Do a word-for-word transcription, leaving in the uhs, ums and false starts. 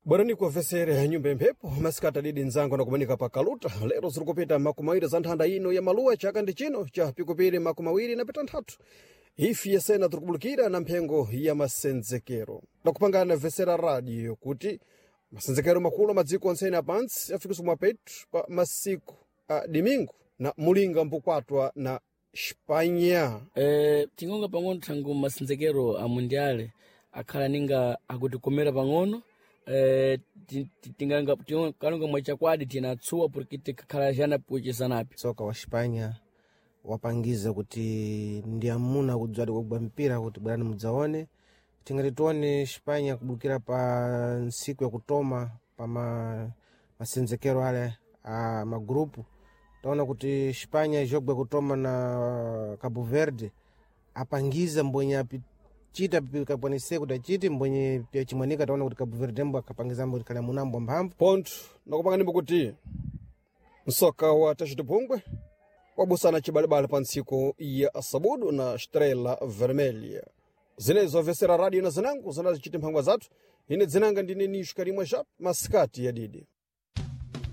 Bwerani kuwavesere nyumba imphepo masikati adidi nzangu nakumanika pa kaluta. Lero zirikupita makumi awiri za nthanda ino ya maluwa, chaka ndi chino cha pikupiri makumi awiri na pitanthatu. Ifi yesena tirikubulukira na mphengo ya masenzekero, nakupangana vesera radio kuti masenzekero makulu madziko ontsene apantsi afikiswa mwapetu pa masiku a dimingu na mulinga mbukwatwa na Xipanya. Eh, tingonga pang'ono thangu masenzekero a mundiale akhala ninga akutikomera pang'ono. eh, ti- ti- tinganga tingalonga mwachakwadi tinatsuwa porque tikakhala jana puchisanapi. Tsoka wa Xipanya wapangiza kuti ndi amuna kudzwadi kugwa mpira kuti bwerani mudzaone. Tingati tione Xipanya kubukira pa ntsiku yakutoma pa ma, masenzekero ale a magrupu, taona kuti Xipanya jogwe kutoma na Cabo Verde apangiza mbwenye apichita pikakwanise kuti achite mbwenye piyachimwanika. Taona kuti Cabo Verde mbo akapangiza mbo kale munambo mphamvu. Ponto nakupanga kuti msoka wa tacitipungwe wabusana cibalibali pa ntsiku ya sabudu na Estrela Vermelha. Zinezo vesera radio na zinango zinazichita mphangwa zathu. Ine dzinanga ndine Nisho Karimwa Jap, masikati ya didi.